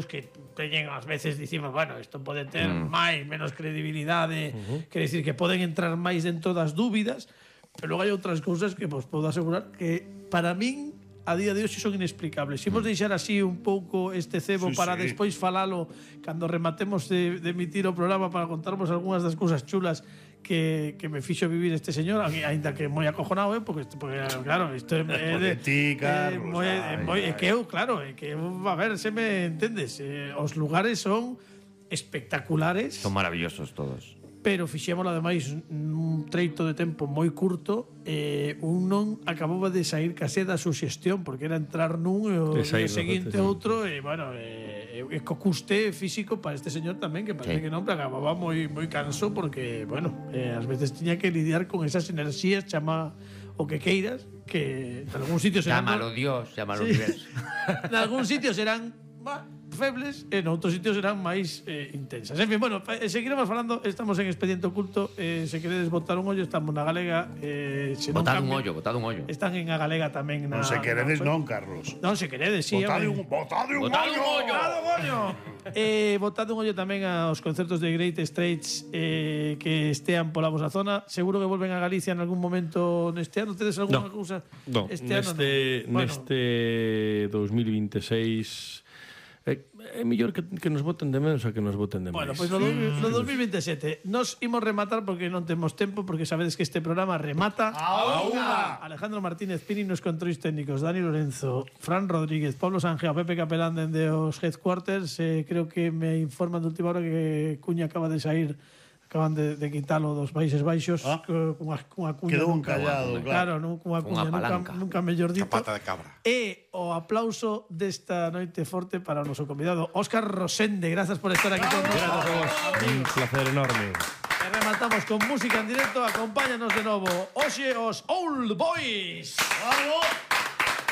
que teñen ás veces dicimos, bueno, isto pode ter máis, menos credibilidade, quer decir que poden entrar máis dentro das dúbidas, pero logo hai outras cousas que vos podo asegurar que para min a día de hoxe son inexplicables. Se imos deixar así un pouco este cebo para despois falalo cando rematemos de emitir o programa para contarmos algunhas das cousas chulas que me fixo vivir este señor, aínda que moi acojonado, porque claro, isto é ti, Carlos. que eu, claro, que a ver, se me entendes, os lugares son espectaculares. Son maravillosos todos. Pero fixémolo ademais nun treito de tempo moi curto, un non acababa de sair case da suxestión, porque era entrar nun e o día seguinte outro, e bueno, co custe físico para este señor tamén, que parece que non, pero acababa moi canso, porque, bueno, ás veces tiña que lidiar con esas enerxías, chama o que queiras, que en algún sitio serán... Llámalo Dios, llámalo universo. En algún sitio serán febles, en outros sitios serán máis intensas. En fin, bueno, seguiremos falando, estamos en Expediente Oculto, se queredes botar un ollo, estamos na Galega, botad un ollo. Están en a Galega tamén na... Non se queredes non, Carlos. Non se queredes, sí. Botade un ollo. Botade un ollo tamén aos concertos de Great Straits que estean pola vosa zona. Seguro que volven a Galicia en algún momento neste ano. Tedes algunha cousa? Non, neste 2026 é mellor que nos voten de menos a que nos voten de máis. Bueno, pois no 2027 nos imos rematar porque non temos tempo, porque sabedes que este programa remata a unha. Alejandro Martínez Pini nos controis técnicos, Dani Lorenzo, Fran Rodríguez, Pablo Sanjeo, Pepe Capelán dende os Headquarters. Creo que me informan de última hora que Cuña acaban de quitalo dos Países Baixos cunha cuña. Quedou encallado, claro, cunha cuña nunca mellor dito. Pata de cabra. E o aplauso desta noite forte para o noso convidado Óscar Rosende. Grazas por estar aquí con nós. Gracias a vos. Un placer enorme. E rematamos con música en directo. Acompáñanos de novo hoxe os Old Boys. Bravo.